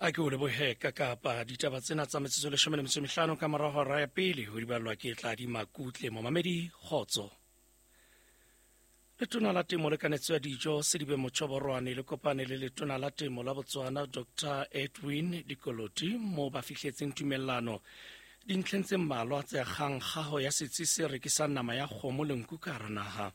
A ke o lebohe ka kapa ditaba tsena tsa metsotso 15 ka mora hora ya pele ho di ballwa ke Tladi Makutle. Momamedi, kgotso. Letona la Temo le Kanetso ya Dijo Sedibe Motšhoborwane le kopane le letona la Temo la Botswana Dr Edwin Dikoloti mo ba fihletseng tumellano dintlheng tse mmalwa tse akgang kgaho ya setsi se rekisang nama ya kgomo le nku ka hara naha.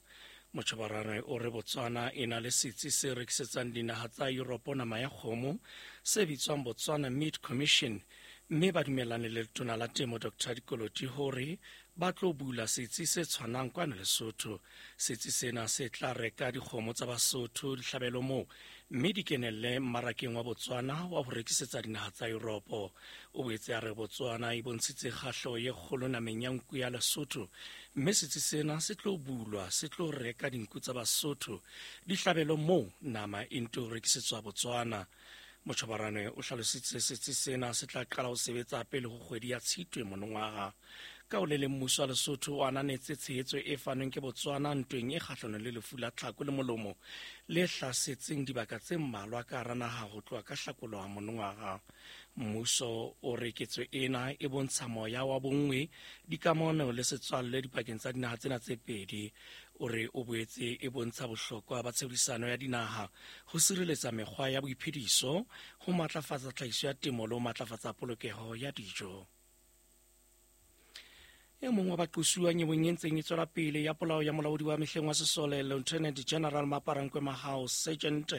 Motšhoborwane o re Botswana e na le setsi se rekisetsang dinaha tsa Europe nama ya kgomo se bitswang Botswana Meat Commission, mme ba dumellane le letona la Temo Dr Dikoloti hore ba tlo bula setsi se tshwanang kwano Lesotho. Setsi sena se tla reka dikgomo tsa Basotho dihlabelo moo mme di kenelle mmarakeng wa Botswana wa ho rekisetsa dinaha tsa Europe. O boetse a re Botswana e bontshitse kgahleho ye kgolo nameng ya nku ya Lesotho, mme setsi sena se tlo bulwa se tlo reka dinku tsa Basotho dihlabelo moo nama e nto rekisetswa Botswana. Motjhobarane o hlalositse setsi sena se tla qala ho sebetsa pele ho kgwedi ya Tshitwe monongwaga. Ka o le leng, mmuso wa Lesotho o ananetse tshehetso e fanweng ke Botswana ntweng e kgahlanong le lefu la tlhako le molomo le hlasetseng dibaka tse mmalwa ka hara naha ho tloha ka hlakoloha monongwaga. Mmuso o re ketso ena e bontsha moya wa bonngwe, dikamano le setswalle dipakeng tsa dinaha tsena tse pedi. O re o boetse e bontsha bohlokwa ba tshebedisano ya dinaha ho sireletsa mekgwa ya boiphediso, ho matlafatsa tlhahiso ya temo le ho matlafatsa polokeho ya dijo. E mong wa baqosuwa nyeweng e ntseng e tswela pele ya polao ya molaodi wa mehleng wa sesole Lieutenant General Maparankwe Mahao, Sergeant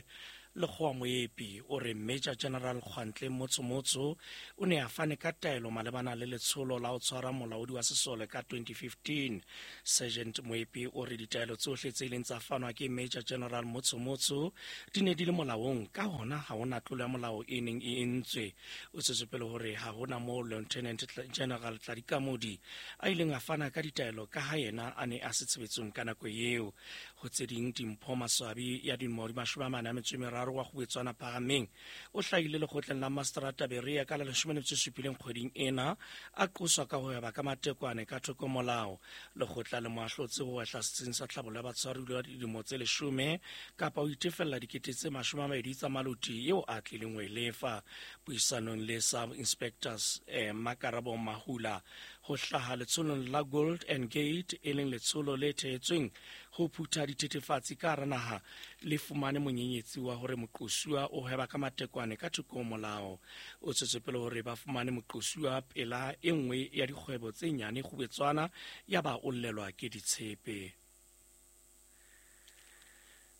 Lekgowa Moepi, o re Major General Kgwantle Motsomotso o ne a fane ka taelo malebana le letsholo la ho tshwara molaodi wa sesole ka 2015. Sergeant Moepi o re ditaelo tsohle tse ileng tsa fanwa ke Major General Motsomotso di ne di le molaong, ka hona ha hona tlolo ya molao e neng e entswe. O tswetse pele hore ha hona moo Lieutenant General Tladi Kamodi a ileng a fana ka ditaelo ka ha yena a ne a se tshebetsong ka nako eo. Ho tse ding, Dimpho Maswabi ya dilemo di 43 wa Kgubetswana Phahameng o hlahile lekgotleng la Mastrata Berea ka la 17 kgweding ena a qoswa ka ho hweba ka matekwane ka thoko molao. Lekgotla le mo ahlotse ho wehla setsing sa tlhabollo ya batshwaruwa dilemo tse 10 kapa ho itefella 20,000 tsa maloti eo a tlileng ho e lefa. Puisanong le Sub Inspectors Makarabo Mahula ho hlaha letsholong la Gold and Gate, e leng letsholo le thehetsweng ho phutha dithethefatsi ka hara naha, le fumane monyenyetsi wa hore moqosuwa o hweba ka matekwane ka thoko ho molao. O tswetse pele hore ba fumane moqosuwa pela e nngwe ya dikgwebo tse nyane Kgubetswana, ya ba o llelwa ke ditshepe.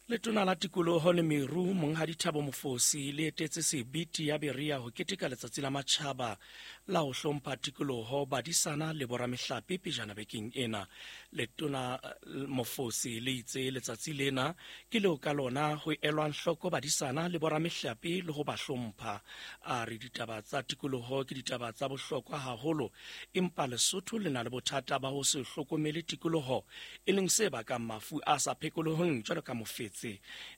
Letona la Tikoloho le Meru, Monghadi Thabo Mofosi, le etetse Sebiti ya Berea ho keteka letsatsi la matjhaba la ho hlompha tikoloho, badisana le boramehlape pejana bekeng ena. Letona Mofosi le itse letsatsi lena ke leo ka lona ho elwang hloko badisana le boramehlape le ho ba hlompha. A re ditaba tsa tikoloho ke ditaba tsa bohlokwa haholo, empa Lesotho le na le bothata ba ho se hlokomele tikoloho, e leng se bakang mafu a sa phekoloheng jwalo ka mofetse,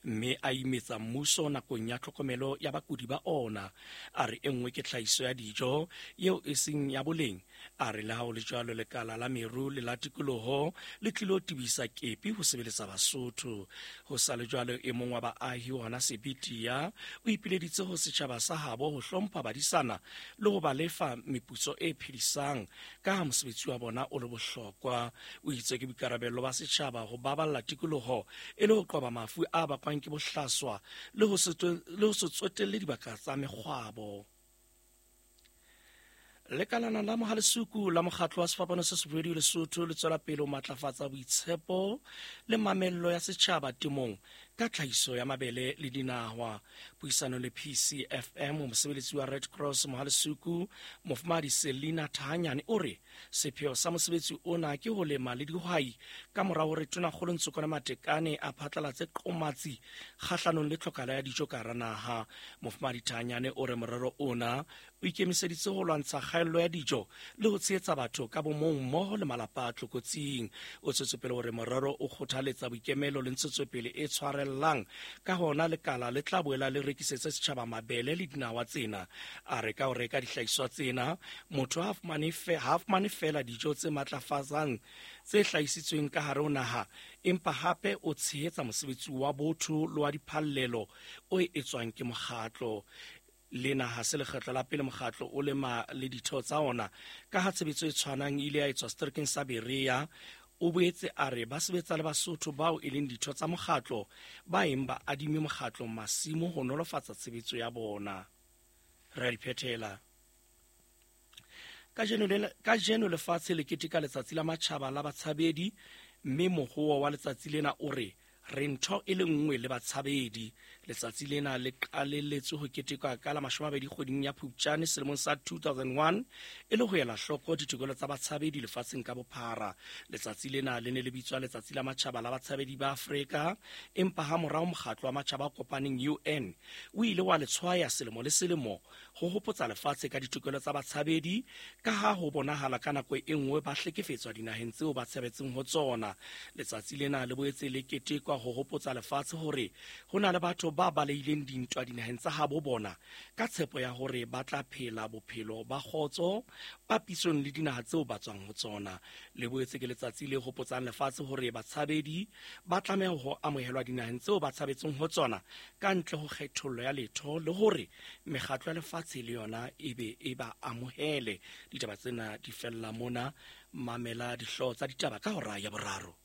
mme a imetsa mmuso nakong ya tlhokomelo ya bakudi ba ona. A re e nngwe ke tlhahiso ya dijo eo e seng ya boleng. A re le ha ho le jwalo, lekala la meru le la tikoloho le tlilo tebisa kepi ho sebeletsa Basotho. Ho sa le jwalo, e mong wa baahi hona Sebitia o ipileditse ho setjhaba sa habo ho hlompha badisana le ho ba lefa meputso e phedisang ka ha mosebetsi wa bona o le bohlokwa. O itse ke boikarabello ba setjhaba ho baballa tikoloho e le ho qoba mafu a bakwang ke bohlaswa le ho se tsotelle dibaka tsa mekgwabo. Lekalana la Mohalesuku la mokgatlo wa Sefapano se Sefubedu Lesotho le tswela pele ho matlafatsa boitshepo le mamello ya setjhaba temong ka tlhahiso ya mabele le dinahwa. Puisano le PCFM, mosebeletsi wa Red Cross Mohalesuku, Mofumahadi Selina Thahanyane, o re sepheo sa mosebetsi ona ke ho lema le dihwai ka mora hore Tonakgolo Ntsokwana Matekane a phatlalatse qomatsi kgahlanong le tlhokahalo ya dijo ka hara naha. Mofumahadi Thahanyane o re morero ona o ikemiseditse ho lwantsha kgaello ya dijo le ho tshehetsa batho ka bomong mmoho le malapa a tlokotsing. O tswetse pele hore morero o kgothaletsa boikemelo le ntshetsopele e tshwarellang, ka hona lekala le tla boela le rekisetse setjhaba mabele le dinawa tsena. A re ka ho reka dihlahiswa tsena, motho ha fumane feela dijo tse matlafatsang tse hlahisitsweng ka hare ho naha, empa hape o tshehetsa mosebetsi wa botho le wa diphallelo o etswang ke mokgatlo. Lena ha se lekgetlo la pele mokgatlo o lema le ditho tsa ona, ka ha tshebetso e tshwanang e ile ya etswa seterekeng sa Berea. O boetse a re ba sebetsa le Basotho bao e leng ditho tsa mokgatlo ba eng ba adime mokgatlo masimo ho nolofatsa tshebetso ya bona. Re a di phethela. Kajeno lefatshe le keteka letsatsi la matjhaba la batshabedi, mme mohoo wa letsatsi lena o re re ntho e le nngwe le batshabedi. Letsatsi lena le qalelletswe ho ketekwa ka la 20 kgweding ya Phupjane selemong sa 2001 e le ho ela hloko ditokelo tsa batshabedi lefatsheng ka bophara. Letsatsi lena le ne le bitswa letsatsi la matjhaba la batshabedi ba Afrika, empa ha morao mokgatlo wa matjhaba a kopaneng UN o ile wa le tshwaya selemo le selemo ho hopotsa lefatshe ka ditokelo tsa batshabedi, ka ha ho bonahala ka nako e nngwe ba hlekefetswa dinaheng tseo ba tshabetseng ho tsona. Letsatsi lena le boetse le ketekwa ho hopotsa lefatshe hore ho na le batho ba balehileng dintwa dinaheng tsa habo bona ka tshepo ya hore ba tla phela bophelo ba kgotso papisong le dinaha tseo ba tswang ho tsona. Le boetse ke letsatsi le hopotsang lefatshe hore batshabedi ba tlameha ho amohelwa dinaheng tseo ba tshabetseng ho tsona ka ntle ho kgethollo ya letho, le hore mekgatlo ya lefatshe le yona e be e ba amohele. Ditaba tsena di fella mona. Mamela dihlooho tsa ditaba ka hora ya boraro.